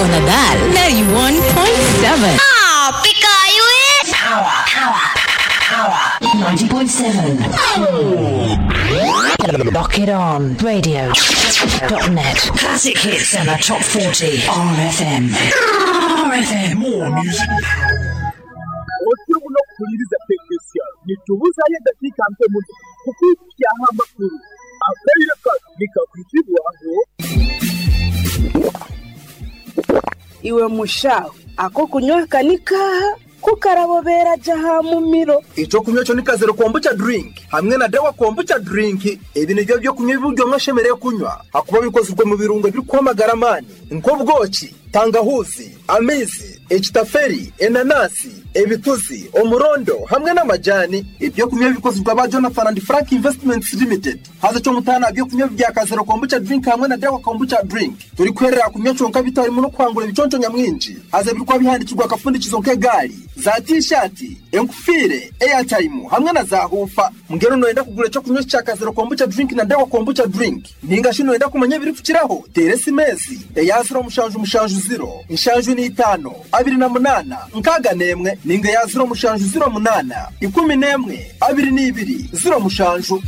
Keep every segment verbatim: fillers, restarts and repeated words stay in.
Nadal ninety-one point seven. Ah, pikayu eh! Power, power, power. ninety point seven. Lock it on. Radio dot net. Classic hits and the top forty. R F M. R F M. More music. Otimuno kuhuliriza Tekesya nitubuzayo eddakiika nke muno kukwikyaho amakuru akaire kano nikakwitibwaho. Iwe mushaho ako kunywa kanika kukarabobera jaha mumiro. Ekyokunywa kyo ni kazero kombucha drink hamwe na dawa kombucha drink. Ebi nibyo byokunywa ebiryo mwashemereire kunywa hakuba bikozirwe mu birungo ebirikwamagara amaani nk'obwoki, tangahuzi, amaizi, ekitaferi, enanasi, ebituzi, omurondo hamwe n'amajani. Ebyokunywa bikozirwe aba Jonathan and Frank Investments Limited. Haza kyomutaana byokunywa bya kazero kombucha drink hamwe na dawa kombucha drink turi kwerera kunywa kyonka bitarimu n'okwangura ebiconco nyamwingi. Haza ebirikuba bihandikirwa akafundikizo nk'egaari, za t-shirt, enkufiire, airtime hamwe na za hufa. Mbwenu noyenda kugura ekyokunywa kya kazero kombucha drink na dawa kombucha drink ninga shi noyenda kumanya ebirikukiraho, teera esimesi eya ziro mushanju mushanju ziro nshanju n'itaano abiri na munaana nkaaga n'emwe ninga eya ziro mushanju ziro munaana ikumi n'emwe abiri n'ibiri ziro mushanju.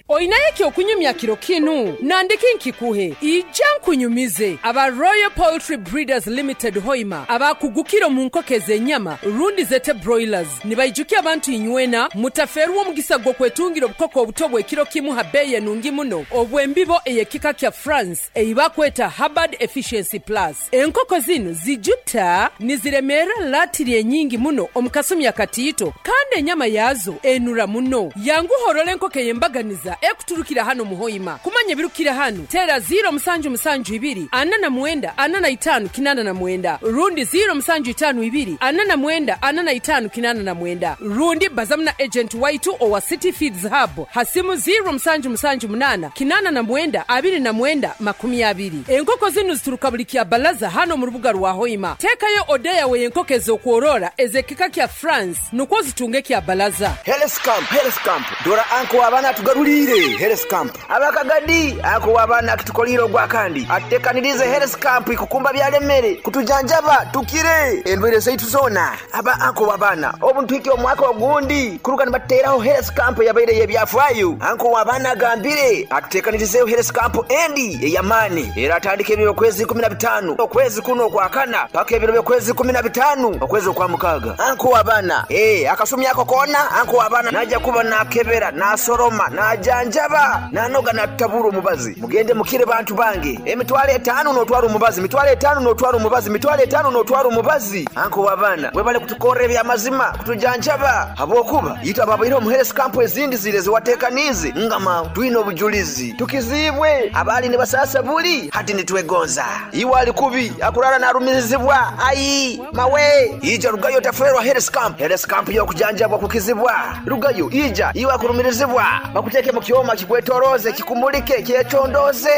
Oinaye ekyokunyumya kiro kinu nandiki nkikuhe ija nkunyumize aba Royal Poultry Breeders Limited Hoima abakugukira mu nkoko ez'ennyama rundi zete broilers nibaijukia abantu inywena mutaferwa omugisa gw'okwetungira obukoko obuto bw'ekiro kimu ha bbeeyi enungi muno obw'embibo ey'ekika kya France eibakweta Hubbard Efficiency Plus. Enkoko zinu zijuta niziremeera latiri enyingi muno omu kasumi akatiito kandi ennyama yaazo enura muno. Yanguhorora enkoko ey'embaganiza ekuturukira hano muhoima. Kumanya ebirukira hano tera ziro musanju musanju ibiri ana na mwenda ana na itanu kinana na mwenda rundi ziro musanju itanu ibiri ana na mwenda ana na itanu kinana na mwenda rundi bazamuna agent waitu owa City Feeds Hub hasimu ziro musanju musanju munana kinana na mwenda abiri na mwenda makumi abiri. Enkoko zinu zituruka buli kya balaza hano mu rubuga rwa Hoima. Tekayo odeya we enkoko ez'okworora ez'ekika kya France nukwo zitunge kya balaza. Health Camp, Health Camp dora anko abana tugarulire Health Camp abakagadi ako abana kitukoliro gwa kandi atekanirize Health Camp ikukumba byalemere kutujanjaba tukire endwere zaitu zona aba anko wabana obuntu iki omwaka ogundi kuruka nibateraho Health Camp yabaire yebyafaayo anko wabana gambire atutekanirize Health Camp endi eyamani era atandike ebiro kwezi kumi na bitano okwezi kuno kwakana paka ebiro kwezi kumi na bitano okwezi kwa mukaga anko wabana eh akasumi yako kona anko wabana naja kuba nakebera nasoroma najanjaba nanoga natabura omubazi mugende mukire bantu bange emitwalo etaano n'otwala omubazi mitwalo etaano n'otwala omubazi mitwalo etaano n'otwala omubazi anko wabana webale kutukorera ebyamazima kutujanjaba habwokuba yitwa babaire omu Health Camp ezindi zire ziwatekanize ngama twine obujulizi tukizibwe abali ne basasa buli hati nitwegonza iwe ali kubi akurara narumirizibwa ayi mawe ija rugayo taferwa Health Camp. Health Camp yokujanjabwa kukizibwa rugayo ija iwe akurumirizibwa bakuteke mu kyoma kikwetoroze kikumulike kyetondoze.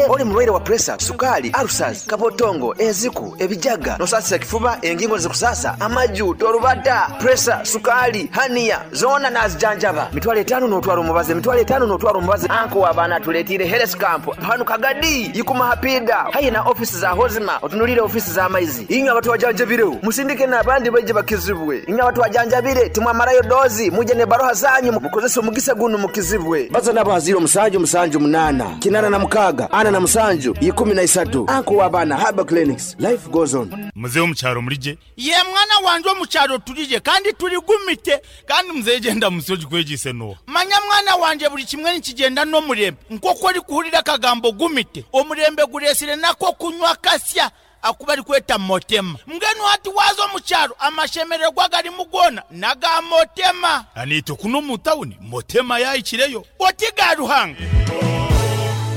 Oli mulwaire wa pressure, sukali, ulcers, kabotongo, eziku, ebijaga, nosasa kifuba, engingo zikusasa, amaju, torubata, pressure, sukali, hania, zona nazijanjaba. Mitwalo etaano n'otwala omubazi, mitwalo etaano n'otwala omubazi. Anko wabana tuletire Health Camp hano Kagadi yikuma hapida hayi na ofisi za Hozima otunulire ofisi za maizi inywe abantu wajanjabire musindike n'abandi baje bakizibwe inywe abantu wajanjabire timwamarayo dozi muje ne baroha zanyu mukozese omugisa guno mukizibwe baza nabo haziro musanju musanju munana kinana na mukaga ana na musanju ikumi na isatu anko wabana Haba Clinics. Life goes on. Mzee omukyaro mulije ye mwana wanje omukyaro tulije kandi tuligumite kandi mzee genda musoji kwegise no manya mwana wanje buli kimwe nikigenda n'omurembe nk'oku ori kuhurira akagambo gumite omurembe guresire nako kunywa kasya akuba ari kweta motema mbwenu hati waza omukyaro amashemererwa garimu gona naga motema anito kuno mu tawuni motema yayikireyo oti ga Ruhanga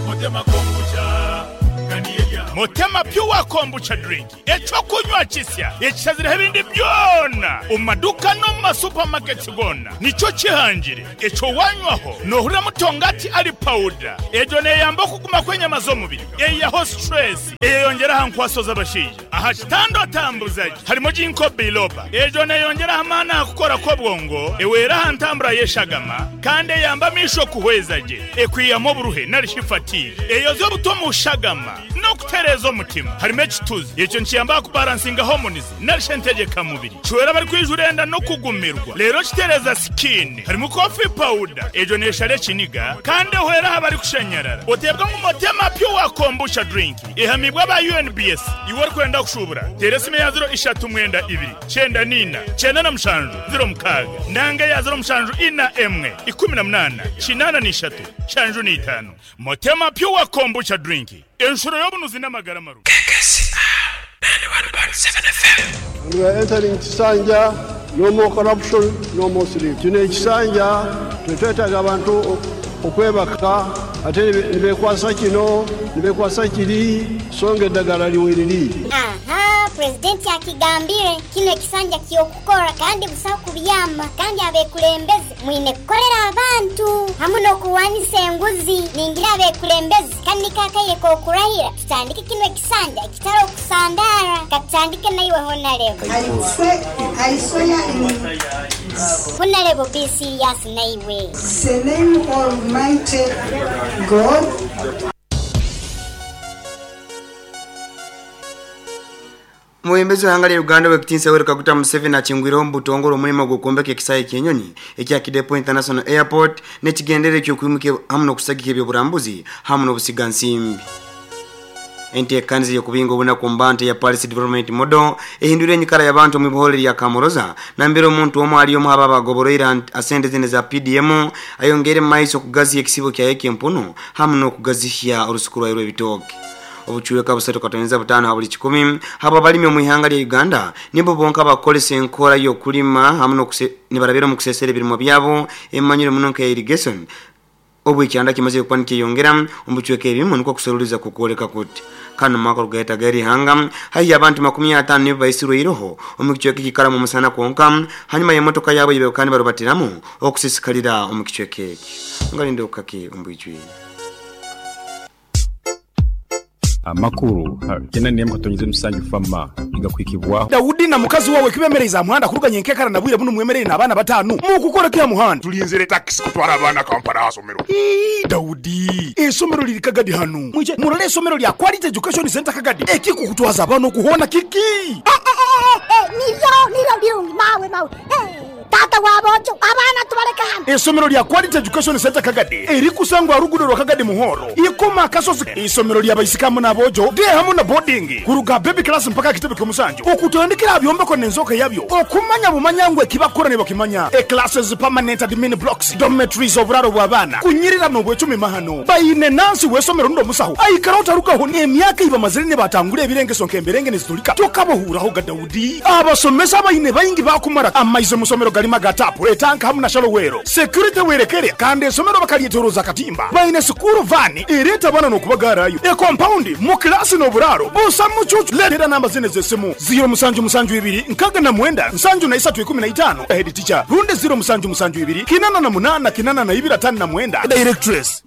motema kombucha Motema Pure Kombucha Drink ekyokunywa kisya ekisazira ebindi byona omu maduka no mu masupamaketi gona nikyo kihangire ekyo wanywaho nohurira mutongati ali powder ejo neyamba okuguma kw'enyama z'omubiri eyaho stress eyeyongeraho nkwaso z'abashaija aha kitando atambuzaji harimo ginkgo biloba ejo neyongeraho amaani aha kukora kw'obwongo eweraho ntambura y'eshagama kandi eyamba amisho kuhweza gye ekwiyamu oburuhe narishi fatigue eyoza obuto mu shagama no N'okutereeza omutima. Harimu ekituzi ekyo nkiyamba kubalansinga hormones narisha entegeka mubiri. Kiwera bari kwijura enda n'okugumirwa. Rero kitereza skin. Harimu coffee powder ejo neshare kiniga kandi ehwera abari kushanyarara. Otebwa ngu Motema Pure Kombucha drink ihamibwa ba U N B S. Iwe kwenda kushubura. Teresime ya zero ishatu mwenda ibiri cyenda nina cyenda na mushanju zero mukaga nanga ya zero mushanju ina emwe ikumi na munana kinana n'ishatu shanju n'itanu. Motema Pure Kombucha drink enshuro y'obunuzi n'amagara maru. K K C R ninety-one point seven F M. We are entering Kisanja, no more corruption, no more sleep. Kino ekisanja tetwetaaga abantu okwebaka ate nibekwasa kino nibekwasa kiri songa eddagala liweriri. Aha, presidenti akigambire kino ekisanja ky'okukora kandi busaho kubyama kandi abekulembeze mwine kukorera abantu hamu n'okuwanisa enguzi. Ningira abekulembeze kandi kakaire k'okurahira tutandike kino ekisanja ekitari okusandara katutandike naiwe honarebo. I swear in Honarebo be serious naiwe. The name Almighty God. Mwembezi wa hanga Uganda wekitinsa Yoweri Kaguta Museveni achingwiraho mbutongoro omulimo gw'okwombeka ekisaayi ky'enyonyi ekya Kidepo International Airport n'ekigendere eky'okwimuka hamu n'okusagika ebyoburambuzi hamu n'obusigansimbi. Enteekaniza y'okubinga obunaku mbante ya Paris Development Model ehindura enyikara y'abantu mu ibihore lya Kamoroza nambere omuntu omwe ali omu aba bagoboroira asente zine za P D M ayongere maiso okugaziya ekisibo kya Ekempuno hamu n'okugazihya orusuku rwayo rw'ebitooke. Obuchweka busatu katoneza butano habuli kikumi haba balimi mu ihanga lya Uganda nibo bonka bakolesa enkora y'okulima hamu n'okusebarabira mu kusesera ebirimo byabo emanyire muno nka irrigation. Obu ikyanda kimaze kupanika yongera omuchweka ebimu niko kuseruliza kukoleka kuti kano mwaka rugaita gari hanga hayi abantu makumi atano nibo baisirwe iroho omukichweka kikara mu musana konka hanyuma y'emotoka yabo yebekani barubatiramu okusisikalira omukichweka eki ngalinde okake ombwijwi amakuru kena niyemo katonyize musanju fama igakwikibwaho Daudi na mukazi wawe kibemereza muhanda kuruganye nkekara nabwire buno mwemerere n'abana batanu mu kukora kya muhanda tulinzire taxi kutwara abana Kampala asomero. Ii Daudi esomero liri Kagadi hanu mwije murole esomero lya Quality Education Center Kagadi ekiko kutwaza abana okuhona kiki eh eh eh nivyo nivyo birungi mawe mawe eh tata wabojo abana tubareka hano. Esomero lya Quality Education Center Kagadi erikusangwa rugudo rwa Kagadi muhoro ikoma kasozi. Isomero lya baisikamu nabojo de hamu na boarding kuruga baby class mpaka kitebe kyomusanju okutandikira byombeko nenzoka yabyo okumanya bumanyangwe kibakora ne bakimanya e classes permanent admin blocks dormitories oburaro bw'abana kunyirira no bwecumi mahano bayine nansi wesomero ndo musaho aikara utarukaho ne emyaka iba mazire ne batangure ebirengeso nkemberenge nezitulika tokabohuraho ga Daudi abasomesa bayine bayingi bakumara amaize musomero galima gatapu etanka hamu na shalowero security werekere kandi esomero bakalietoroza katimba bayine sukuru vani ireta bana nokubagarayo e compound mu klasi no buraro busa mucucu letera namba zine zesimu zero musanju musanju ibiri nkaga na mwenda nsanju na isatu ikumi na itano head teacher runde zero musanju musanju ibiri kinana na munana kinana na ibira tano na mwenda directress.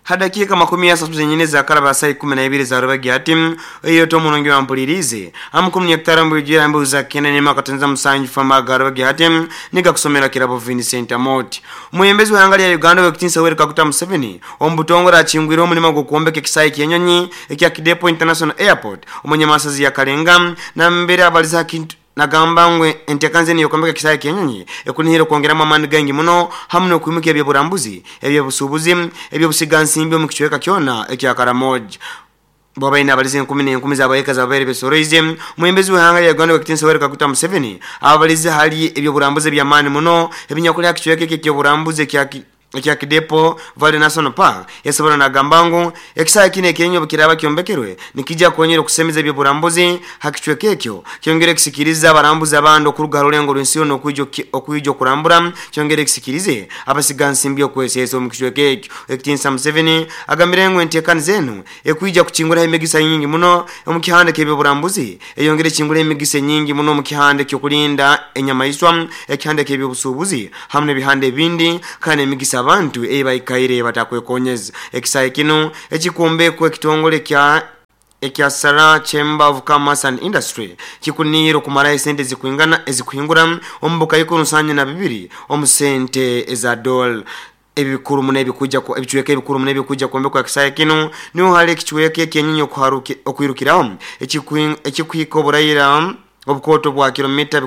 Hadakika makumi ya satu zenyine za karaba saa ikumi na ibiri za rubagi hati iyo to munongi wa mpulirize amukumi nyaktarambu ujira mbu za kena nema katenza musanju fama garubagi hati nika kusomera kirabo Vincent Amoti. Muyembezi wa hanga ya Uganda wekitinsa Yoweri Kaguta Museveni ombutongora achingwira omulimo gw'okwombeka ekisaayi ky'enyonyi ekya Kidepo International Airport omunyamasazi ya Kalenga na mbere abaliza kintu nagamba ngwe entekanze niyo kombeka kisaya kenyonyi ekunihira kwongeramo amani gangi muno hamu n'okwimuka ebyoburambuzi ebyobusuubuzi ebyobusigansimbi omu kichweka kyona ekya Karamoja. Bwabaina abalize enkumi n'enkumi z'abayeka z'ababeere besoroize mwembezi w'ihanga lya Uganda wekitinsa Yoweri Kaguta Museveni abalize hali ebyoburambuzi eby'amaani muno ebinyakulya kichweka eki ekyoburambuzi ekya ekya Kidepo Valley National Park yasobora nagamba ngu ekisaya kino ekenyo bukiraba kyombekerwe nikijja konyera okusemeza ebyoburambuzi hakichweka ekyo kyongere kisikiriza abarambuzi abandi okuruga rulengo rw'ensi yona okwijja okwijja okurambura kyongere kisikirize abasigansimbi okwesesa omu kichweka ekyo. Ekitinsa Museveni agambire ngu enteekani zenu ekwijja kuchinguraho emigisa nyingi muno omu kihande ky'ebyoburambuzi eyongere kingura emigisa nyingi muno omu kihande ky'okulinda enyamaiswa ekihande ky'ebyobusuubuzi hamu n'ebihande ebindi kandi emigisa abantu ebaikaire batakwekonyeza. Ekisayi kino ekikumbekwe ekitongole kya ekya Sara Chamber of Commerce and Industry kikuniro kumara esente zikuingana ezikuhingura ombuka yiko nsanya na bibiri omusente eza dola. ebikuru muno ebikuja ebichweka ebikuru muno ebikuja kwombekwa kisaya kino niho hali ekichweka ekyenyinyi okwirukiraho ekikuhika oburayira obukoto bwa kilomita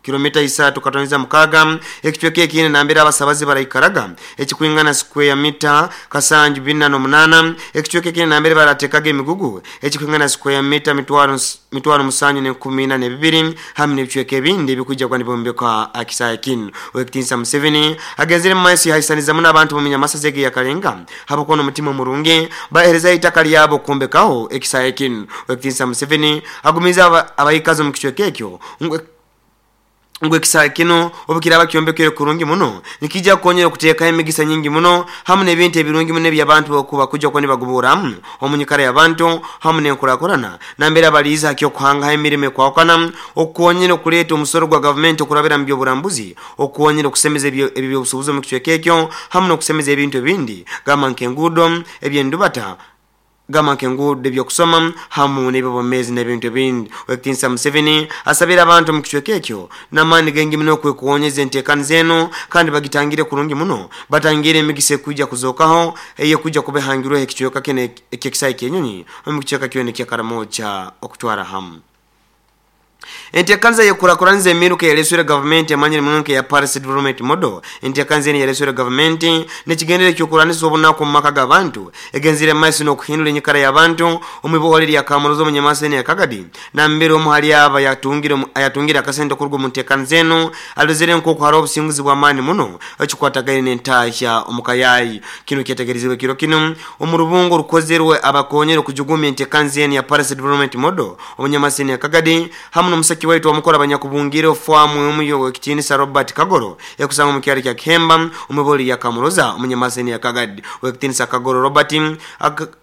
kilomita isatu katoniza mukaga ekichweka ekine nambera abasabazi baraikaraga ekikwingana square mita kasanju bina no munana ekichweka ekine nambere baratekaga emigugu ekikwingana square mita mitwaro mitwaro musanyu ne kumi na bibiri hamwe n'ebichweka ebindi bikuja kwa nibombeka akisaya kino. Owekitinisa Museveni agenzire mu maisi haisaniza muno abantu mu minyamasa zege ya Kalenga habakono mutima murungi bahereza itaka lyabo kumbekaho ekisaya kino. Owekitinisa Museveni agumiza abayikazo mu kichweka ekyo ngwe kisaya kino obukiraba kyombekere kurungi muno nikija konyera kuteeka emigisa nyingi muno hamwe n'ebintu ebirungi muno eby'abantu okuba kujja kwani baguburamu omunyikara y'abantu hamwe n'enkurakurana nambera abaliza hakyo kuhanga emirimo ekwawukana okukonyera okuleeta omusoro gwa gavumenti okurabira mu by'oburambuzi okukonyera okusemeza ebyobusuubuzi omu kicweka ekyo hamwe n'okusemeza ebintu ebindi gamba nk'enguudo eby'endubata gama kengude byokusoma hamu n'ebibomezi n'ebintu ebindi. Owekitinisa Museveni asabira abantu mu kichweka ekyo n'amaani gengi muno okwekuwonyeza enteekani zeno kandi bagitangire kurungi muno batangire emigisa ekujja kuzookaho eyekujja kubehangirweho ekichweka kino eky'ekisaayi ky'enyonyi omu kichweka kyona eky'Ekaramoja okutwara hamu. Entekanza yekurakuranza emiruka yaleswera government amanyire munonke ya Paris Development Model. Entekanza eni yaleswera government nekigendere kyokuranisa obunaku mu maka g'abantu egenzire maiso n'okuhindura enyikara y'abantu omu lya Kamurozo mu nyamasa eni ya Kagadi nambere omu hali aba yatungire ayatungira akasente okuruga mu ntekanza eno alozere nk'oku hariho obusinguzi bw'amaani muno ekikwatagaine n'entahya omu kayayi. Kino kyetegerezibwe kiro kino omu rubungo rukozerwe abakonyera okujugumya entekanza eni ya Paris Development Model omu nyamasa eni ya Kagadi hamwe n'omusaki waitu wamukora abanyakubungire ofwamu omuyo w'ekitinisa Robert Kagoro ekusanga mu kyalo kya Kihemba omuboli ya Kamuroza omunyamaseni ya Kagadi. W'ekitinisa Kagoro Robert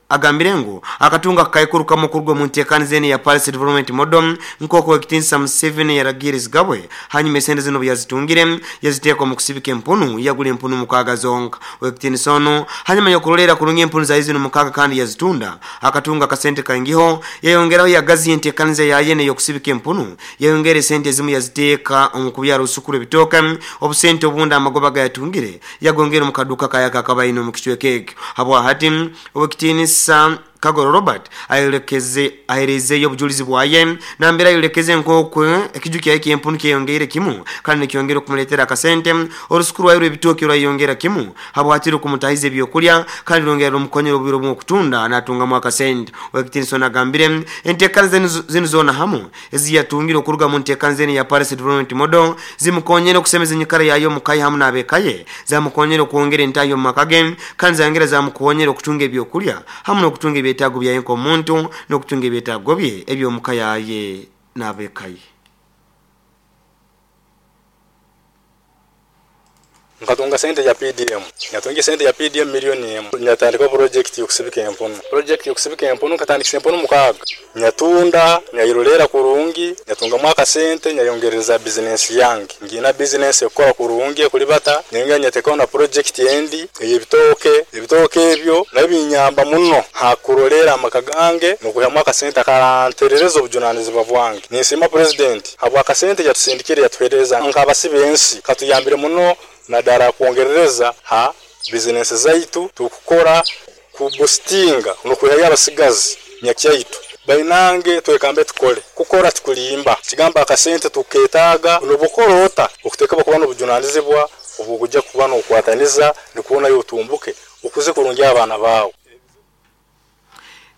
agambire ngu akatunga akaikuruka mukurwa mu nteekaniza ya Paris Development Model nk'oku w'ekitinisa Museveni yaragiriza gabwe hanyuma esente zino yazitungire yaziteeka mu kusibika empunu yagula empunu mukaaga zonka. W'ekitinisa ono hanyuma yokurolera kurungi empunu za zino mukaaga kandi yazitunda akatunga akasente kaingiho yayongeraho yagazi enteekaniza yaye y'okusibika empunu yayongera esente ezimu yaziteeka omu kubyara osukuru ebitooke obusente obundi amagoba gayatungire yagongera mu kaduka kayaka akabaine omu kicweka ekyo. Habwahati ow'ekitinisa Kagoro Robert ayolekeze aherezeyo obujulizi bwaye nambera ayolekeze nk'oku ekiju kyaye ky'empunu kyeyongeire kimu kandi nikyongera okumuleetera akasente orusukuru rwayo rw'ebitooke rwayongera kimu habwatiri okumutahiza ebyokurya kandi rwongera rumukonyera obwire obumwe okutunda natungamu akasente. Owekitinisa agambire enteekaniza zinu zoona hamu eziyatungire okuruga mu nteekaniza enu ya Paris Development Model zimukonyera okusemeza enyikara yayo omukaye hamu n'abekaye zamukonyera okwongera entaahi omu maka ge kandi zayongera zamukonyera okutunga ebyokurya hamu n'okutunga ebyetaago byaye nk'omuntu n'okutunga ebyetaago bye eby'omuka yaye n'abekaye. Nkatunga sente ya P D M. Nyatunga sente ya P D M milioni emu. Nyatandika project yokusibika empunu. Project yokusibika empunu nkatandika empunu mukaaga. Nyatunda, nyayirolera kurungi, nyatunga mwaka sente, nyayongereza business yange. Ngina business ekora kurungi kulibata, nyonga nyateka na project endi eyebitoke, ebitoke ebyo nabinyamba muno hakurolera amaka gange nokuya mwaka sente akaranterereza obujunanizibwa bwange. Nisima president habwa akasente yatusindikire yatuhereza nkabasibe ensi katuyambire muno nadara kuongereza ha business zaitu tukukora kubustinga nokuhaya abasigazi nyakyaitu bainange twekambe tukole kukora tukulimba kigamba akasente tuketaga nobukorota okuteka kuba nobujunanizibwa obukujja kuba nokwataniza nikuona yotumbuke ukuze kurungi abana bawo.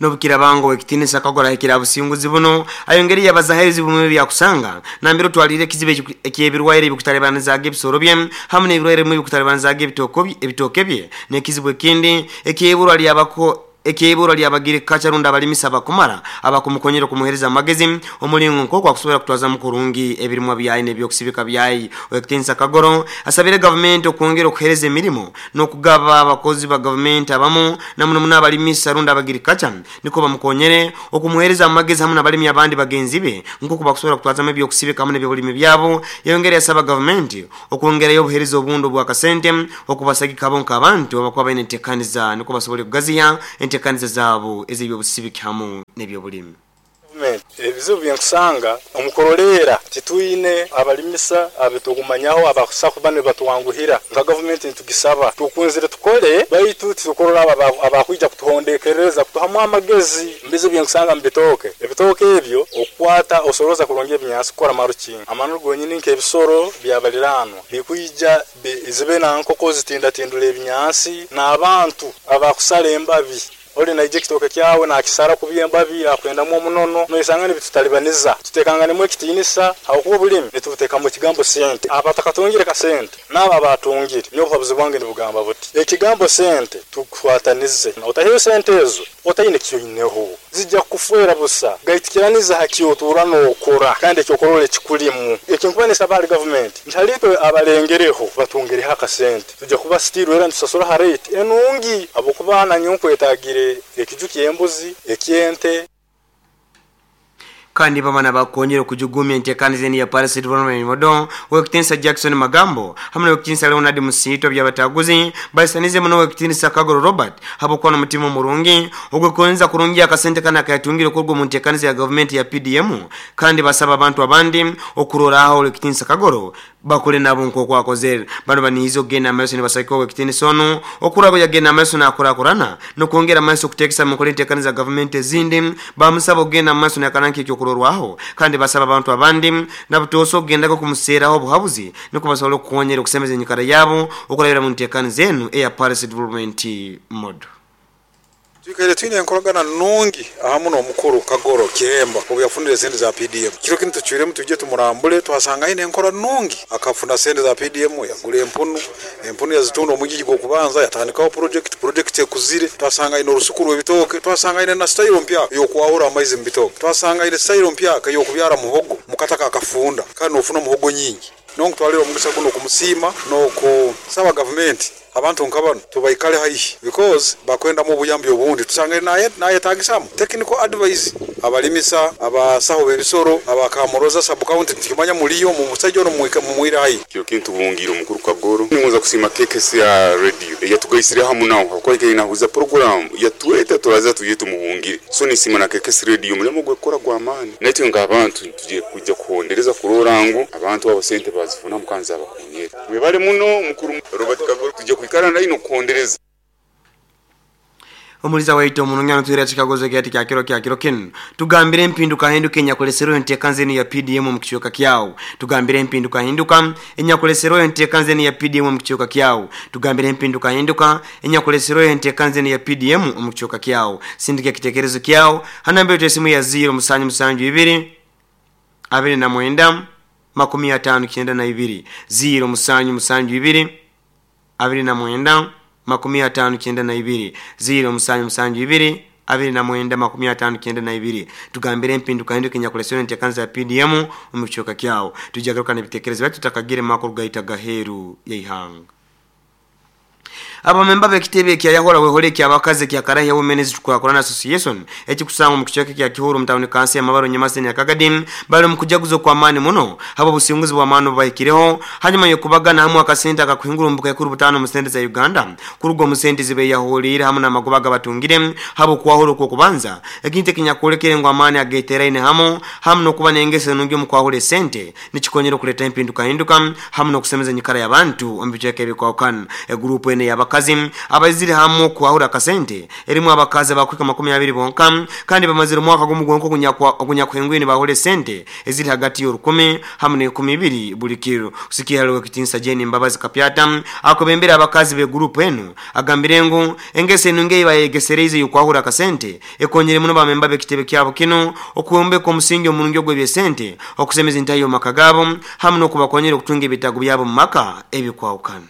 Nobukira bango wekitinisa Kagoro hekira businguzi buno ayongeri yabazaherezi bumwe byakusanga nambero twalire kizibe ekyebirwaire ebikutalebanizaga ebisoro bye hamwe n'ebirwaire bimwe ebikutalebanizaga ebitoko ebitoke bye n'ekizibu ekindi ekyeburwa lyabako ekyebura lyabagire kacharunda abalimisa bakumara abakumukonyera kumuhereza amagezi omulingo nk'oku akusobola kutwaza mukurungi ebirimwa byayi n'ebyokusibika byayi. Owekitinisa Kagoro asabire gavumenti okwongera okuhereza emirimu n'okugaba abakozi ba gavumenti abamu namuno muno abalimisa runda abagire kacha niko bamukonyere okumuhereza amagezi hamwe n'abalimi abandi bagenzi be nk'oku bakusobola kutwazamu ebyokusibika hamwe n'ebyobulimi byabo. Yayongera yasaba gavumenti okwongerayo obuhereza obundi obwakasente okubasagika bo nk'abantu abakuba baine enteekaniza niko basobole kugaziya enteekaniza zabo ez'ebyobusibiki hamu n'ebyobulimi. Ebizibu byenkusanga omukorolera titwine abalimisa abitugumanyaho abakusa kuba nibatwanguhira nka gavumenti nitugisaba tukunzire tukole baitu tukorora abakwija kutuhondekereza kutuhamu amagezi. Mbizibu byenkusanga mbitoke ebitoke ebyo okwata osoroza kurongera ebinyansi kukora marukinga amanu gonyini nk'ebisoro byabaliranwa bikuija zibe na nkoko zitindatindula ebinyansi n'abantu abakusala embabi oli naije kitoke kyawe na kisara kubyembabi akwendamu omunono noisanga nibitutalibaniza tutekangane ekitinisa aho bulimi nituteka mu kigambo sente abatakatungire ka sente naba batungire nyo buhabuzi bwange nibugamba buti ekigambo sente tukwatanize otahiyo sente ezo otayine kiyoineho zijja kufuera busa gaitikiraniza hakiotura nokora kandi ekyokorole kikulimu ekinkubanisa bali government ntalipe abalengereho batungire haka sente tujja kuba still era ntusasura ha rate enungi abokubana nyokwetagire ekijuki embuzi ekyente. Kandi bamana bakongera kujugumya enteekaniza ya Paris Development Model wekitinsa Jackson Magambo hamwe wekitinsa Leonard Musito byabataguzi basanize muno wekitinsa Kagoro Robert habokuwa n'omutima murungi ogwekonza kurungi akasente kana kayatungire kurwo mu nteekaniza ya government ya P D M kandi basaba abantu abandi okuroraho wekitinsa Kagoro bakole nabo nkoko akozere bano banizo gena amaso ni basako wekitinsa ono okurabo yagena amaso nakurakurana no kwongera amaso kutekesa mu kole nteekaniza government ezindi bamusaba ogena amaso nakananki ekyo kurorwaho kandi basaba abantu abandi nabutoso kugendako kumuseraho obuhabuzi nuko basobola okukonyera okusemeza enyikara yabo okurabira mu nteekaniza zenu eya Paris Development Model. Twikaire twine enkoragana nungi ahamu n'omukuru Kagoro Kihemba obu yafunire sente za P D M. Kiro kinu tucwiremu tujye tumurambule twasanga aine enkora nungi akafuna sente za P D M yagura empunu empunu yazitunda omugigi gw'okubanza yatandikaho project project ekuzire twasanga aine orusuku rw'ebitooke twasanga aine na style mpya y'okwahura amaizi mu bitooke twasanga aine style mpya y'okubyara muhogo mukataka akafunda kandi nofuna muhogo nyingi nonkutwalira omugisa guno kumusiima n'okusaba gavumenti abantu nkabano tubaikale haihi because bakwenda mu buyambi obundi tusange naye nayetagisamu technical advice abalimisa abasaho bebisoro abakamoroza sub county tikimanya muliyo mu musajja ono mwika mumwira haihi kyo kintu bungiro mukuru Kagoro ningoza kusima K K C ya radio yatugaisire hamu nawo hakoye ina huza program yatweta turaza tuye tumuhungire so nisima na K K C radio mulemo gwekora gwa amani netwe nga abantu tuje kujja kuhondereza kurorango abantu abo sente bazifuna mukanza abakonyera mwebale muno mukuru Robert Kagoro tuje kuikara na ino kuhondereza. Omuliza waito omununyano tuira chikagozo kyati kya kiro kya kiro kinu tugambire empinduka hinduka enyakolesero enteekanzeni ya P D M mu kichoka kyawo tugambire empinduka hinduka enyakolesero enteekanzeni ya P D M mu kichoka kyawo tugambire empinduka hinduka enyakolesero enteekanzeni ya P D M mu kichoka kyawo sindika kitekerezo kyawo hanambere esimu ya zero musanju musanju ibiri abiri na mwenda makumi atano kyenda na ibiri zero musanju musanju ibiri abiri na mwenda makumi atano kyenda na ibiri zero musanju musanju ibiri abiri na mwenda makumi atano kyenda na ibiri tugambire empinduka hinduka enyakolesero enteekanza ya P D M mu kichoka kyawo tujagaruka n'ebitekerezo byaitu tutakagire makuru gaita gaheru y'eihanga. Abamemba bekitebe kya yahola wehole kya bakaze kya Karahi Women's Tukwakorana Association ekikusanga mu kichweka kya Kihoro mtawuni kansi ya Mabaro Nyamase ya Kagadim bali mu kujaguzo kwa amani muno habo businguzi bwa mano bahikireho hanyuma yokubagana hamwe akasente akakuhingura mbuka yakuru butano mu sente za Uganda kurugo mu sente zibe yaholira hamwe namagobaga batungire habo kwahoro ko kubanza ekinte kinyakolekere ngo amani ageteraine hamo hamwe no kuba nengese nungi mu kwahole sente nikikonyera kuleta impinduka hinduka hamwe no kusemeza nyikara y'abantu ombicheke bikwakan e group ene yabakazi abaziri hamu kwahura akasente erimu abakazi abakwika makumi abiri bonka kandi bamazira mwaka gumugonko kunyakwa kunyakwengwini bahole sente eziri hagati y'orukumi hamwe n'ikumi ibiri buli kiro kusikia halo kitinsa Jeni Mbabazi Kapyata akobembera abakazi be group enu agambire ngu engese nunge bayegesereze yukwahura akasente ekonyere muno bamemba bekitebe kyabo kino okuyombeka omusingi omurungi ogw'ebye sente okusemeza intayo makagabo hamwe n'okubakonyera okutunga ebitago byabo mu maka ebikwawukana.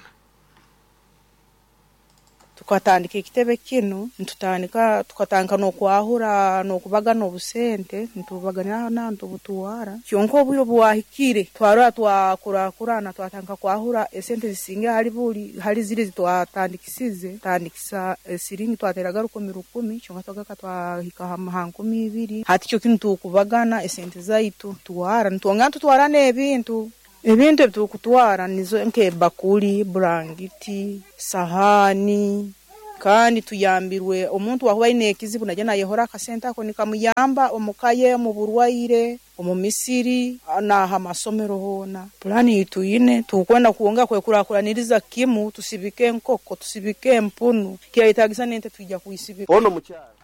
Tukatandika ekitebe kino ntutandika tukatandika n'okwahura n'okubagana obusente ntubagana na ntubutuwara kyonka obwire obuwahikire twarora twakurakurana twatandika kwahura esente zisinga hali buli hali ziri zitwatandikisize tandikisa esiringi twateraga rukumi rukumi kyonka twagaka twahika ha nkumi ibiri hati kyo kino tukubagana esente zaitu tuwara ntwongera tutwara n'ebintu ebintu ebitukutwara nizo nk'ebakuli burangiti sahani Kandi tuyambirwe omuntu wahuba aine ekizibu najya nayehora akasente ako nikamuyamba omukaye mu burwaire omu misiri n'aha masomero hoona. Pulani tuyine tukwenda kuwonga kwekurakuraniriza kimu, tusibike enkoko, tusibike empunu, kirayetagisa nente twija kuisibika. Ono mukyala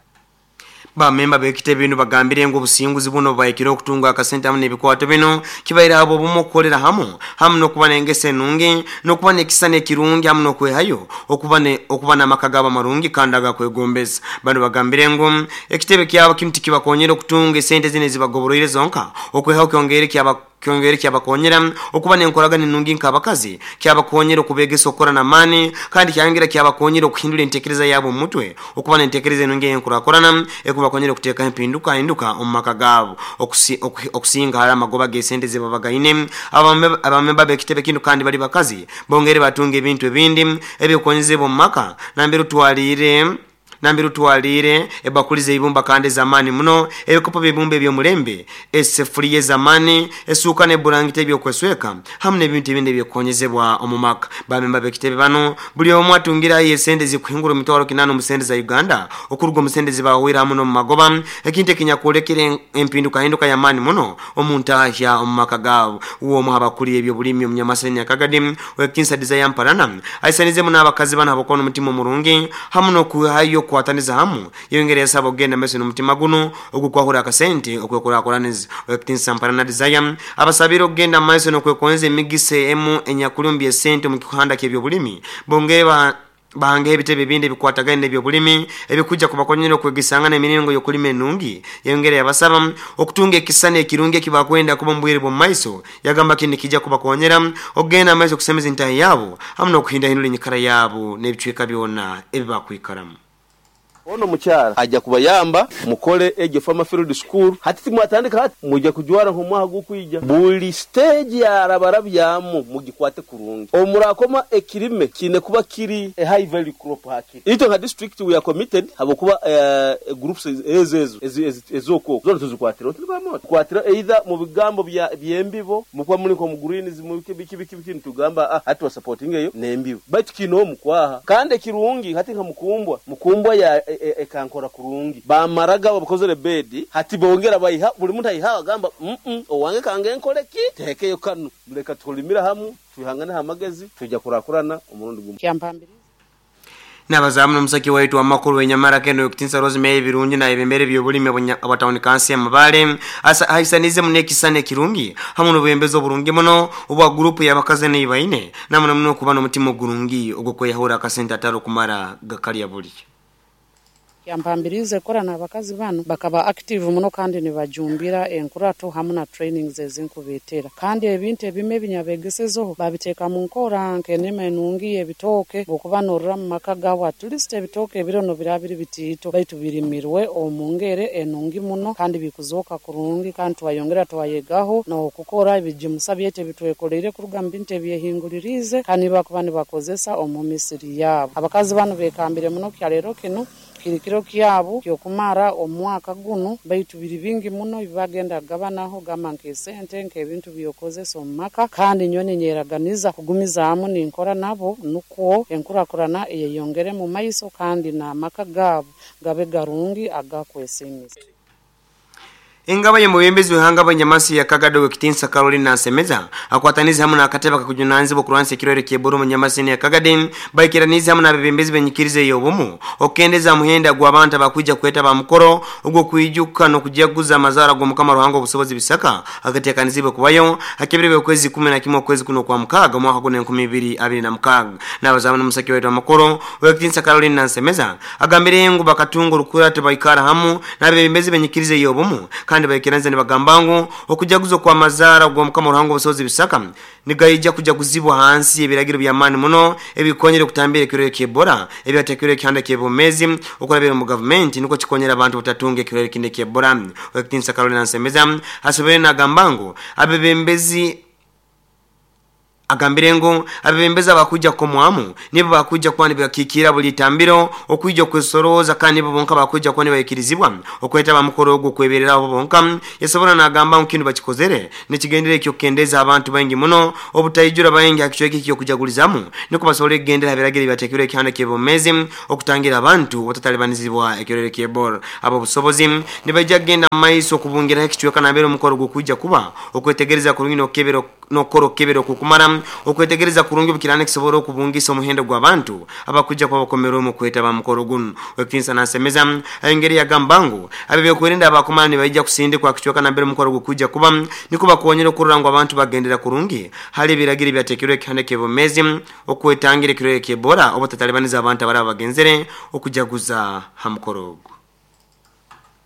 Bamemba bekitebe bino bagambire ngo obusinguzi buno bayikire okutunga akasente hamwe n'ebikwato bino kibaire abo bumu okukolera hamu hamu n'okuba n'engese enungi n'okuba n'ekisana ekirungi hamu n'okwehayo okuba ne okuba n'amaka gabo amarungi kandi agakwegombeza. Bano bagambire ngo ekitebe kyabo kinu tikibakonyera okutunga esente zino ezibagoboroire zonka, okwehayo kyongere kyaba kyongere kyabakonyera okuba n'enkoragana enungi nk'abakazi, kyabakonyera okubegesa okukora n'amaani, kandi kyayongera kyabakonyera okuhindura entekereza yabo omu mutwe okuba n'entekereza enungi ey'enkurakurana ekubakonyera okuteekaho empinduka hinduka omu maka gaabo okusi, oku, okusinga hali amagoba g'esente ze babagaine. Abamemba b'ekitebe kinu kandi bali bakazi bongere batunga ebintu ebindi ebyokonyezebwa omu maka nambere otwaliire nambere utwalire ebakuli zeibumba kandi zamani muno, ebikopo by'ibumba eby'omulembe, esefuriya ez'amaani, esuuka n'eburangiti ebyokwesweka hamu n'ebintu ebindi ebyokonyezebwa omu maka. Bamemba b'ekitebe bano buli omu atungirayo esente zikuhingura emitwaro kinaana omu sente za Uganda okuruga omu sente zibahwire hamu n'omu magoba, ekintu ekinyakwolekere empindukahinduka y'amaani muno omu ntahya omu maka gaabo. Uwo omu abakuli ebyobulimi omunyamasani Nyakagadi wekinsa Desire Mparana aisanizemu n'abakazi bano abakuba n'omutima omurungi hamu n'okuhayo kwataniza hamu, yongera yasaba okugenda maiso n'omutima guno ogukwahura akasente okwekurakuraniza. Wekitinsa Mparana Desire abasabire okugenda maiso n'okwekonza emigisa emu enyakulumbi esente omu kihanda ky'ebyobulimi, bongere ba bahange ebitebe ebindi ebikwatagaine n'ebyobulimi ebikujja kubakonyera okwegesangana emiringo y'okulima enungi. Yongera yabasaba okutunga ekisana ekirungi ekibakwenda kuba omu bwire bw'omu maiso, yagamba kindi kijja kubakonyera okugenda maiso okusemeza entahi yaabo hamu n'okuhindahindura enyikara yaabo n'ebicweka byona ebibakwikaramu. Ono mukyala ajja kubayamba mukole egyo farmer field school hati timwatandika hati mujja kujwara nk'omwaha gw'okwija buli stage yarabarabyamu mugikwate kurungi omurakoma ekirime kine kuba kiri a high value crop hakiri itwe nka district we are committed habokuba uh, groups ezo ezo ezoko zona tuzikwatira tulibamu kwatira either mu bigambo bya byembibo mukuba muri nko mu greens mu biki biki biki tugamba ah hati wa supporting eyo nembibo baitu kino mukwaha kandi ekirungi hati nka mukumbwa mukumbwa ya ekankora kurungi bamaraga bakozere bedi hati bongera bayiha buli muntu ayiha agamba mm -mm, owange kange nkoleki tekeyo kanu muleka tulimira hamu tuhangane hamagezi tujja kurakurana omurundi gumu. Nabazamu n'omusaki waitu amakuru wenyamara kendo yokutinsa Rosemary Birungi na ebembere by'obulimi abatawuni kansi ya Mabale ahisanize munekisana ekirungi hamu n'obwembezi oburungi muno obwa gurupu y'abakazi neibaine namuno muno okuba n'omutima ogurungi ogw'okweyahura akasente atari okumara gakalya buli. Yampambirize kora n'abakazi bano bakaba active muno kandi nibajumbira enkurato hamu na trainings ezinkubetera kandi ebintu ebime ebinyabegesezeho babiteeka mu nkora nk'enema enungi ebitooke okuba norora mu maka gaabo at least ebitooke ebirono birabiri bitiito baitu birimirwe omu ngere enungi muno kandi bikuzooka kurungi kandi twayongera twayegaho n'okukora ebijimusa byaitu ebitwekoleire kuruga mu bintu ebyehingulirize kandi bakuba nibakozesa omu misiri yaabo. Abakazi bano bekambire muno kyaleero kino kirikiro kyabo kyokumara omwaka guno baitu biri bingi muno ibagenda gabanaho gamba nk'esente nk'ebintu byokozesa omu maka kandi nyone nyeraganiza kugumizaamu ninkora nabo nukwo enkurakurana eyeyongere mu maiso kandi n'amaka gaabo gabe garungi agakwesimisa. Ingaba ye mubembezi w'ihanga b'enyamasi ya Kagado w'ekitinsa Caroline Nsemeza akwataniza hamu n'akatebe kakujunanizibwa okurwanisa ekirwaire ky'Ebola omu nyamasi ya Kagadi baikiraniza hamu n'abebembezi b'enyikiriza ey'obumu okukendeza muhenda gw'abantu abakwija kweta bamukoro ogw'okwijuka n'okujaguza amazaara g'Omukama Ruhanga obusobozi bisaka agateekanizibwe kubayo hakebere okwezi kumi na kimwe okwezi kuno kwa mukaaga omwaka guno enkumi ibiri abiri na mukaaga. N'abazamu n'omusaki waitu amakoro w'ekitinsa Caroline Nsemeza agambire ngu bakatunga orukurato baikara hamu n'abebembezi b'enyikiriza ey'obumu kandi baikiraniza nibagamba ngu okujaguza kwa mazaara gw'Omukama Ruhanga obusobozi bisaka nigaija kujaguzibwa hansi ebiragiro by'amaani muno ebikonyera okutambira ekirwaire ky'Ebola ebyateekirwe ekihanda ky'ebomezi okurabira mu gavumenti nukwo kikonyera abantu butatunga ekirwaire kindi ky'Ebola. Owekitinsa Caroline Nsemeza asobere nagamba ngu abebembezi Agambire ngu abebembezi bakuja komwamu nibo bakuja kwani bakikira buli tambiro okuija kwesoroza kandi nibo bonka bakuja kwani bayikirizibwa okweta bamukoro ogwo kweberera abo bonka. Yasobora nagamba nkintu bakikozere nekigendere ekyo kendeza abantu bangi muno obutayijura bangi akichweki kyo kujagulizamu niko basobole kugendera biragire batekere ekihanda kyebomezi okutangira abantu otatalibanizibwa ekyorere kyebor. Abo busobozi nibajja kugenda maiso okubungira ekichweka nabero omukoro gwo kuba okwetegereza kurungi nokebero nokoro kebero kukumara okwetegereza kurungi bukirane kisobora okubungisa omuhendo gw'abantu abakuja kwa bakomero mu kweta bamukoro guno. Wekinsa nasemeza engeri ya gambangu abebe kwerinda abakomana nibaija kusindikwa kichweka nambere mukoro gukuja kuba niko bakonyera okurora ngo abantu bagendera kurungi hali biragiri byatekerwe kihande kebomezi okwetangira kirore kebora obutatalibaniza abantu abaraba bagenzere okujaguza hamukoro.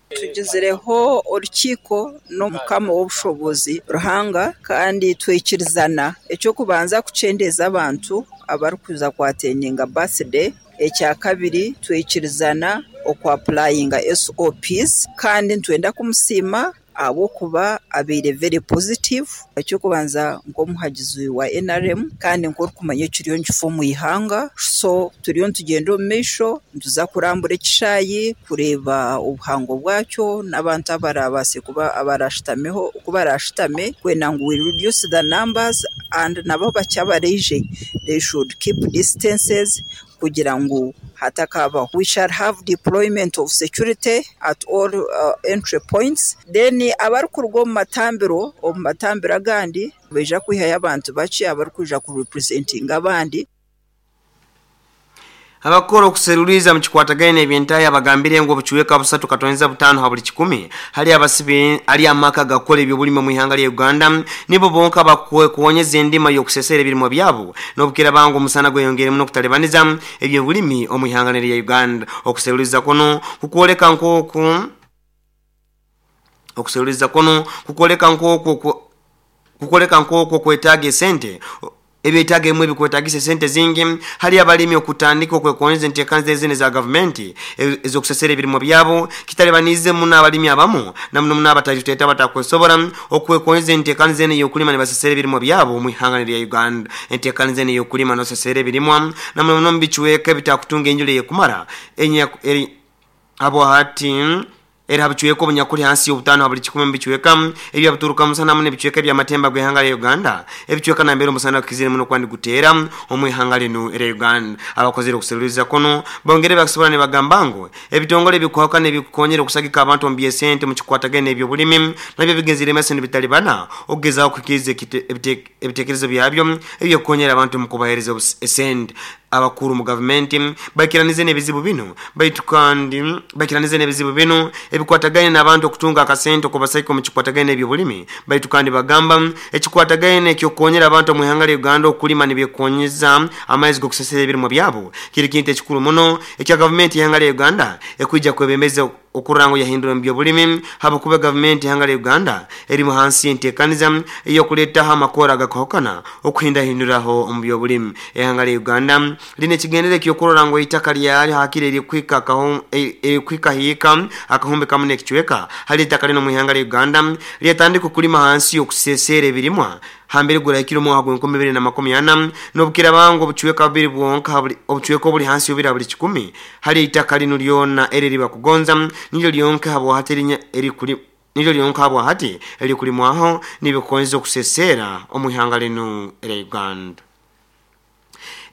Tugizereho orukiko n'omukama w'obushobozi Ruhanga kandi twikirizana ekyo kubanza kucendeza abantu abarikuza kwateninga birthday. Ekya kabiri twikirizana okwapplyinga S O Ps kandi ntwenda kumusiima abo kuba abeire very positive. Ekyo kubanza nk'omuhagizi wa N R M kandi nk'okumanya ekiriyo nkifo mu ihanga, so turiyo ntugenda omu maisho ntuza kurambura ekishayi kureba obuhango bwakyo n'abantu abarabase kuba abarashitameho kubarashitame kwenda ngu we reduce the numbers and nabo bakyabareije they should keep distances kugira ngu hatakaba. We shall have deployment of security at all uh, entry points. Then abarikuruga omu matambiro omu matambiro agandi baija kwihayo abantu bakye abarikuja ku representing abandi. Abakora okuseruliza mu kikwatagaine ebyentaya bagambire ngo obuchweka busatu katoneza butano ha buli kikumi hali abasibe ali amaka gakole ebyobulimi mu ihanga lya Uganda nibo bonka bakwe kuonyeza endima yokusesera ebirimo byabo nobukira bango omusana gweyongere muno kutalibaniza ebyobulimi omu ihanga lya Uganda. Okuseruliza kuno kukwoleka nkoku okuseruliza kuno kukwoleka nkoku kukwoleka nkoku kwetaaga esente ebyetaaga emwe bikwetagisa sente zingi hali abalimi okutandika okwekonyeza enteekaniza ezine za gavumenti ezokusesera ebirimo byabo kitalibanize muno abalimi abamu na muno muno abataliteta batakwesobora okwekonyeza enteekaniza ene y'okulima ne basesera ebirimo byabo mu ihanga lya Uganda. Enteekaniza ene y'okulima n'osesera ebirimwa na muno muno mubichweka ebitakutunga enjura eyekumara enya eri abo hati era habichweka obunyakuli hansi y'obutano ha buli kikumi mubichweka ebya buturuka musana muno ebichweka ebyamatemba gw'ihanga lya Uganda ebichweka nambere omusana kizire muno kwandi guteera omu ihanga lino era Uganda. Abakozere okuseruliza kuno bongere bakusobola ne bagamba ngu ebitongole ebikuhaka n'ebikukonyera okusagika abantu omu by'esente mu kikwatagane ebyobulimi nabyo bigenzire maiso nibitalibana okugezaho okuhikiriza ebitekerezo byabyo ebyokukonyera abantu mu kubaheereza esente. Abakuru mu gavumenti bakiranize n'ebizibu bino baitu kandi bakiranize n'ebizibu bino ebikwatagaine n'abantu okutunga akasente okubasaika mu kikwatagaine ebyobulimi baitu kandi bagamba ekikwatagaine ekyokukonyera abantu mu ihanga lya Uganda okulima nibyekonyeza amaizi g'okusesera ebirimo byabo kiri kintu ekikuru muno ekya gavumenti y'ihanga lya Uganda ekwija kwebembeza okurango yahindura mu byobulimi habukuba gavumenti y'ihanga lya Uganda eri mu hansi y'enteekaniza ey'okuleetaho amakora agakohokana okuhindahinduraho omu byobulimi. Ihanga lya Uganda line ekigendere ekyokurora ngu eitaka lyali hakiri erikwika erikwika hiika akahumbi kamu n'ekichweka hali eitaka lino mu ihanga lya Uganda lyatandika okulima hansi y'okusesera ebirimwa hambere gurahikire omwaka gw'enkumi ibiri na makumi ana n'obukira bangu obuchweka bubiri bwonka obuchweka obuli hansi y'obubiri buli kikumi hali eitaka lino lyona eri ribakugonza nilyo lyonka habwahati erikuli nilyo lyonka habwahati erikulimwaho nibikonza okusesera omu ihanga lino erya Uganda.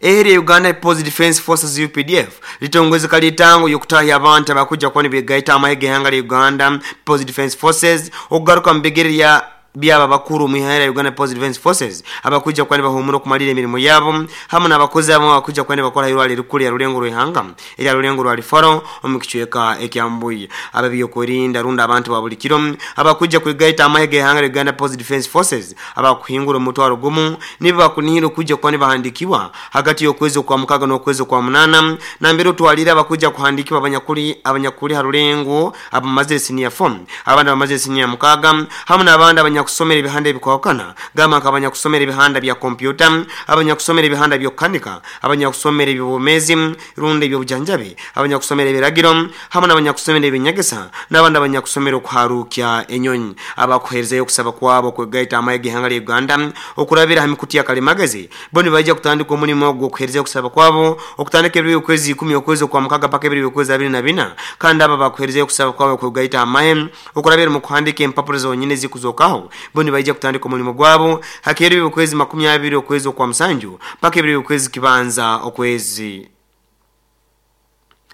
Eri Uganda People's Defense Forces U P D F litongweza kalitango yokutahya abantu abakuja kwani begaita amahe g'ihanga lya Uganda People's Defense Forces okugaruka mu bigere ya byaba bakuru mu ihanga lya Uganda People's Defense Forces abakuja kwani bahumura okumalira emirimu yabo hamwe n'abakozi abo abakuja kwani bakora irwaliro rikuru ya Rulengo rw'ihanga erya Rulengo rwa Rifaro omu kichweka ekyambuye ababyokurinda runda abantu ba buli kiro abakuja kwigaita amahe g'ihanga lya Uganda People's Defense Forces abakuhingura omutwaro gumu nibo bakunihira okuja kwani bahandikiwa hagati y'okwezi kwa mukaga n'okwezi kwa munana nambere otwalira abakuja kuhandikiwa abanyakuli abanyakuli ha Rulengo abamazire senior form abandi abamazire senior mukaga hamwe n'abandi abanyakuli abanyakusomera ebihanda ebikwawukana gamba nk'abanyakusomera ebihanda bya kompyuta, abanyakusomera ebihanda by'okukanika, abanyakusomera eby'obwomezi rundi eby'obujanjabi, abanyakusomera ebiragiro hamwe n'abanyakusomera ebinyegesa n'abandi abanyakusomera okuharukya enyonyi. Abakuherezayo okusaba kwabo kwegaita amaye g'ihanga lya Uganda okurabira ha mikutu ya kalimagezi bo nibaija kutandika omulimo ogw'okuherezayo okusaba kwabo okutandika ebiro by'okwezi ikumi okwezi okwa mukaga paka ebiro by'okwezi abiri na bina. Kandi aba bakuherezayo okusaba kwabo kwegaita amaye okurabira mu kuhandika empapuro zonyine zikuzokaho bo nibaija kutandika omulimo gwabo hakero by'okwezi makumi abiri okwezi okwa musanju paka ebiro by'okwezi kibanza okwezi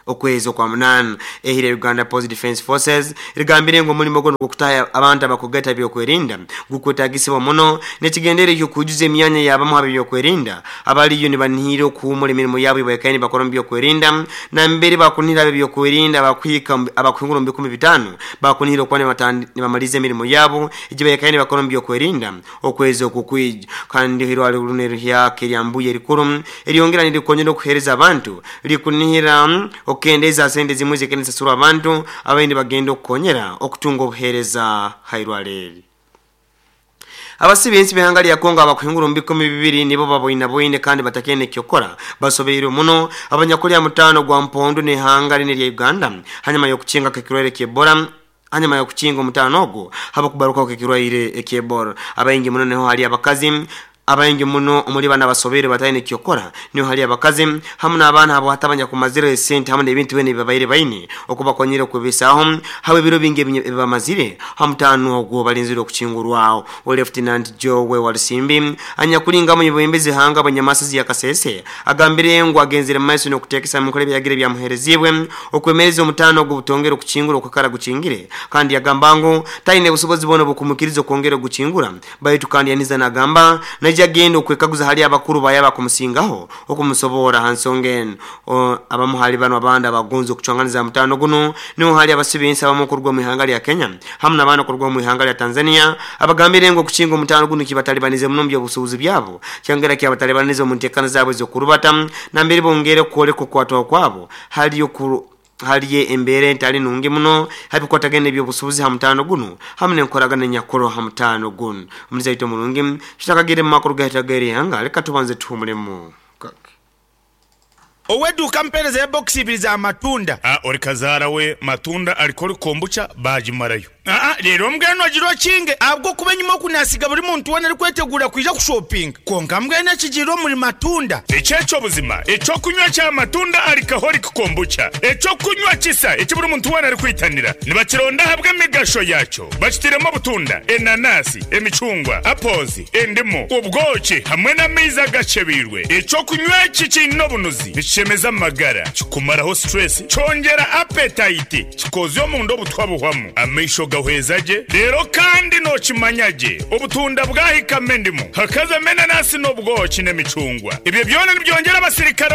okwezi okwa munana. Ehire Uganda Post Defense Forces rigambire ngo omulimo gono gw'okutaya abantu abakugata byokwerinda gukwetagisibwa muno nekigendere ekyo kujuza emyanya yabamu ab'ebyokwerinda abaliyo nibanihira okuhumura emirimo yabo ibaikaine bakora mu byokwerinda na mbere bakunihira ab'ebyokwerinda abakwika abakuhingura mu bikumi bitano bakunihira okuba nibamaliza emirimo yabo egi baikaine bakora mu byokwerinda okwezi okukwija. Kandi hirwale luno eryaka eryambuye erikuru eryongera nirikonyera okuhereza abantu likunihira okendeza sente zimwe zikenesasura abantu abaindi bagenda okukonyera okutunga obuhereza hairwaleri. Abasibe b'ihanga lya Kongo abakuhingura mu bikumi bibiri nibo baboina boine kandi batakene kyokora basobeire muno abanyakulya mutano gwa mpondo n'ihanga line lya Uganda hanyuma y'okukinga kekirwaire ky'Ebola hanyuma y'okukinga omutano ogwo habakubaruka kekirwaire eky'Ebola. Abaingi muno niho hali abakazi abaingi muno omuli bana basobere batayine kyokora niho hali abakazi hamwe n'abaana abo hatabanya kumazira esente hamwe n'ebintu bene bibaire baine okubakonyera okwebesaho hawe ebiro bingi ebibamazire hamutano ogwo balinzire okukingurwaho. Lieutenant Joe Walisimbi anyakulinga mu bwembezi hanga abanyamasizi ya Kasese agambire ngo agenzere mu maiso n'okutekesa mu nkora ebyagire byamuherezibwe okwemereza omutano ogwo butongera okukingura okukara gukingire. Kandi yagamba ngo tayine busobozi bono bukumukiriza okwongera ogukingura baitu kandi yaniza nagamba naija genda okwekaguza hali abakuru bayaba kumusingaho okumusobora hansonga eno. Abamu hali bano abandi abagonza okucwanganiza mutano guno niho hali abasibinsi abamu okuruga mu ihanga lya Kenya hamwe n'abandi okuruga mu ihanga lya Tanzania abagambire ngo okukinga omutano guno kibatalibanize muno mu by'obusuubuzi byabo kyongera kyabatalibanize mu nteekana zaabwe ez'okurubata nambere bongere kwoleka okukwatwaho kwabo hali okuru haliye embere entali nungi muno habikwatagene ebyobusuubuzi ha mutano guno hamwe n'enkoragana nyakoro ha mutano guno. Omuzaito mulungi tutakagire mu makuru gahitagere ihanga leka tubanze tuhumulemu. Oweduka mpereza ya box ibiri za matunda. Ah, ori kazara we matunda alikori kombucha bajimarayo. Ah, rero mbweno agiro kinge abwo kuba nyuma kunasiga buri muntu wena ari kwetegura kwija kushopping. Konka mbwene kijiro muri matunda. Echecho buzima, echo kunywa cha matunda alcoholic kombucha. Echo kunywa kisa ekiburi muntu wena ari kwitanira. Nibakironda habwe emigasho yacho. Bakitiremo butunda, enanasi, emicungwa, apples, endimu, ubwoki hamwe n'amaizi agacebirwe. Echo kunywa iki kino bunuzi. Nikishemeza amagara, kikumaraho stress, cyongera appetite, kikozyo mu ndo butwabuhwamu. Amaisho gahwezaje rero kandi nokimanyage obutunda bwahikame ndimu hakaza menanasi n'obwoki n'emicungwa. Ibyo byona nibyongera abasirikare.